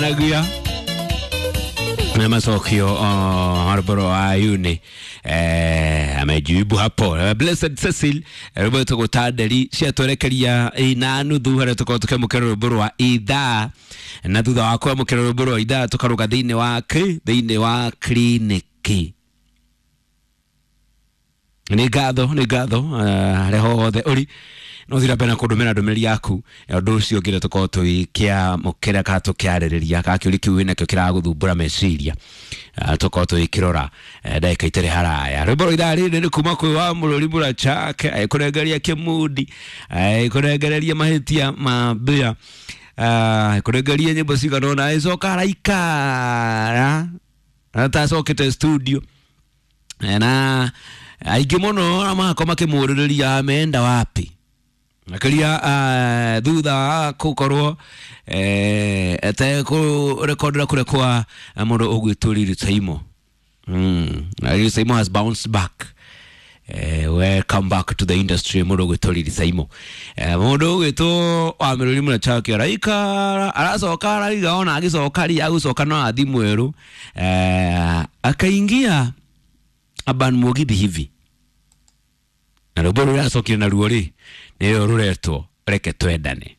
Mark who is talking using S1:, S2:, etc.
S1: Nagia na macokio rwĩmbo wa Yuni amejibu hapo. Blessed Cecil, rwĩmbo rwĩtagwo Tanderi ciatwerekeria ina nuthu harĩa tũkorwo tũkĩamũkĩra rwĩmbo rwa ithaa, na thutha wa kwamũkĩra rwĩmbo rwa ithaa tũkarũga thĩinĩ wa thĩinĩ wa kliniki. Nĩ ngatho, nĩ ngatho harĩa hothe ũri no thira mbere na kũndũmĩra ndũmĩrĩri yaku. Ũndũ ũcio ũngĩ tũkorwo tũgĩkĩamũkĩra kana tũkĩarĩrĩria kana kĩũria kĩu wĩnakĩo kĩragũthumbũra meciria, tũkorwo tũgĩkĩrora ndagĩka itarĩ haraya. Rwĩmbo rwa ithaa rĩrĩ nĩ kuma kwĩ wa Mũrũri Mũrachake agĩkũrengeria kĩmundi, agĩkũrengereria mahĩtia ma mbĩa, agĩkũrengeria nyĩmbo cigana ũna, agĩcoka araikara atacokete studio na aingĩ mũno na magakorwo makĩmũrĩrĩria ameenda wapi makĩria thutha wa gũkorwo atekũrekondera kũrĩa kwa mũndũ ũgwĩtwo Lil Saimo. Lil Saimo has bounced back. Welcome back to the industry, mũndũ ũgwĩtwo Lil Saimo. Mũndũ ũgwĩtwo wa Mĩrũri Mũrachake araikara aracoka araiga ona agĩcoka ri agũcoka no athi mwerũ, akaingia Aban Mugithi hivi na rwĩmbo rũrĩa acokire naruo rĩ nĩrĩo rũretwo Reke Twendane.